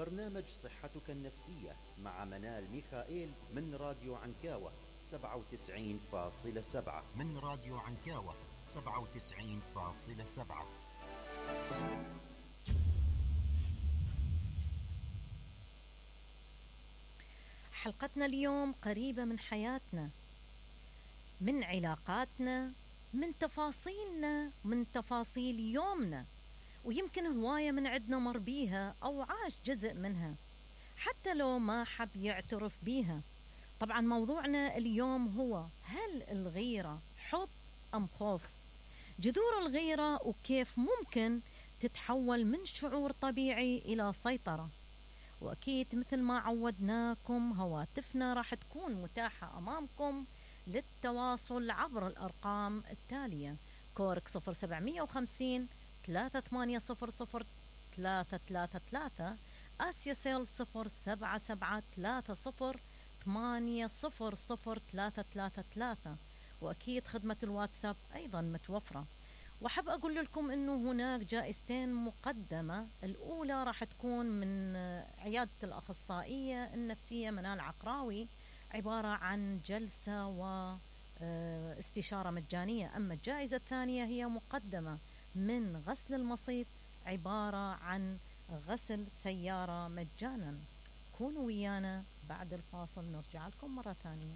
برنامج صحتك النفسية مع منال ميخائيل من راديو عنكاوة 97.7 من راديو عنكاوة 97.7. حلقتنا اليوم قريبة من حياتنا، من علاقاتنا، من تفاصيلنا، من تفاصيل يومنا، ويمكن هواية من عدنا مر بيها أو عاش جزء منها حتى لو ما حب يعترف بيها. طبعا موضوعنا اليوم هو: هل الغيرة حب أم خوف؟ جذور الغيرة وكيف ممكن تتحول من شعور طبيعي إلى سيطرة. وأكيد مثل ما عودناكم هواتفنا راح تكون متاحة أمامكم للتواصل عبر الأرقام التالية: كورك 0750 3800 333، آسيا سيل 07730 800 وأكيد خدمة الواتساب أيضا متوفرة. وحب أقول لكم أنه هناك جائزتين مقدمة. الأولى راح تكون من عيادة الأخصائية النفسية منال عقراوي، عبارة عن جلسة واستشارة مجانية. أما الجائزة الثانية هي مقدمة من غسل المصيف، عبارة عن غسل سيارة مجانا. كونوا ويانا بعد الفاصل نرجع لكم مرة ثانية.